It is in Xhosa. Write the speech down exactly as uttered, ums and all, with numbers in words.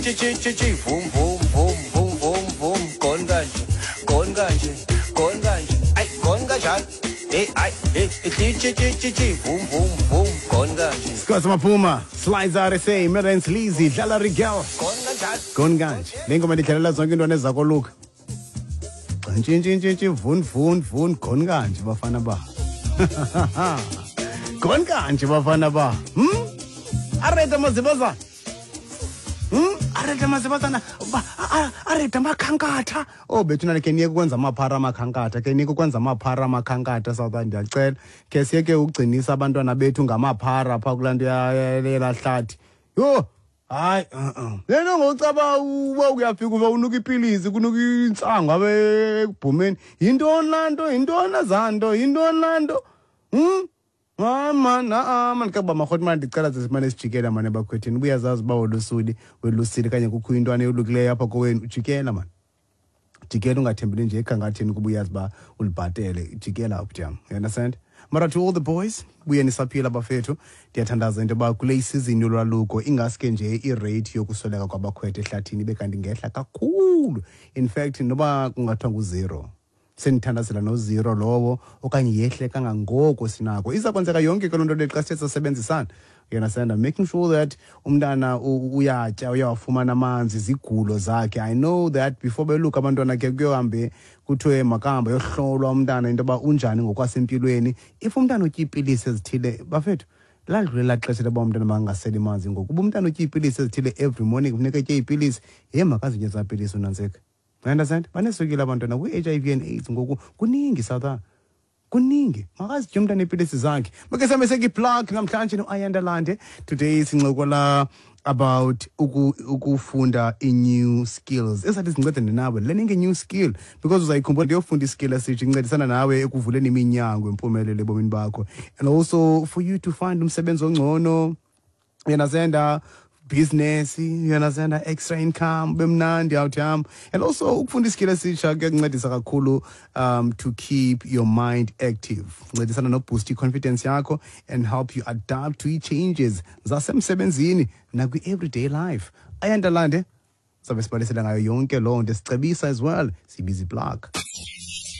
Tshi tshi tshi vum vum vum vum vum vum gone kanje gone kanje gone kanje ay gone kanjani hey ay hey tshi tshi tshi tshi vum vum vum gone kanje. Scott Maphuma slides out S A Merens Lizzy dlala Rigel. Gone kanjani. Gone kanje. Le ngoma ndidlalela zonke iintwana ezakoluka. Ntshintshintshintshi vun vun vun gone kanje bafana ba. Gone kanje bafana ba. Hmm? Areta mazibazana. Hmm? Areta mazibazana. Ba areta makhankatha. Oh, bethuna, ke niyeke ukwenza amaphara amakhankatha. Ke niyeke ukwenza amaphara amakhankatha, South, ndiyacela. Ke siyeke ukugcinisa abantwana bethu ngamaphara phaa kulaa nto yelaa hlathi. Yho! Hayi, uh-uh. Le nto ngocaba uba uyafika uba unuka ipilisi, kunuka intsangu apha ekubhumeni. Yintoni laa nto? Yintoni ezaa nto? Yintoni laa nto? Hmm? Hayi man, a-a man, kakuba marhoti mani, ndicela ze simane sijikela mani ebakhwetheni. Uba uyazazi uba wolusuli, welusile kanye kukho intwana eyolukileyo apha kowenu, jikela mani. Jikela, ungathembeli nje ekhankatheni kuba uyazi uba ulibhatele. Jikela, bhuti yam. You understand? Mara to all the boys, buye nisaphila bafethu. Ndiyathandaza into yoba kule isizini yolwaluko ingaske nje irate yokusweleka kwabakhwetha ehlathini ibe kanti ngehla kakhulu. In fact, noba kungathiwa ngu-zero, sendithandazela no-zero lowo okanye yehle kangangoko sinako. Iza kwenzeka yonke ke loo nto le xa sithe sasebenzisana, you understand? I'm making sure that umntana u- uyatya, uyawafumana amanzi, zigulo zakhe. I know that before beluka abantwana ke kuyohambe kuthiwe makahambe ayohlolwa umntana into yoba unjani ngokwasempilweni. If umntana utya iipilisi ezithile, bafethu, ladlulela xesha loba umntana makangaseli manzi ngoku. Uba umntana utya iipilisi ezithile every morning, kufuneka etye iipilisi, ye makazitye ezaa pilisi unantsika. You understand? Baneswekile abantwana, kwi-H I V and AIDS ngoku kuningi, South, kuningi. Makazitye umntana iipilisi zakhe. Make sihambe sekuyiplug namhlanje no-Ayanda Lande. Today sincokola about uku, ukufunda i-new skills ezathi zincedane nawe, learning a new skill, because uzayikhumbula ndiyofunda iskill esitsha incedisana nawe ekuvuleni iminyango empumelelo ebomini bakho and also for you to find umsebenzi ongcono, you understand, business, you understand, extra income bemnandi out yam. And also ukufunda iskill esitsha kuyakuncedisa kakhulu um to keep your mind active, ncedisana noboost i-confidence yakho and help you adapt to i-changes zasemsebenzini nakwi-everyday life. Ayanda Lande sabe sibalisela ngayo yonke loo nto, sicebisa as well, sibiza iplug.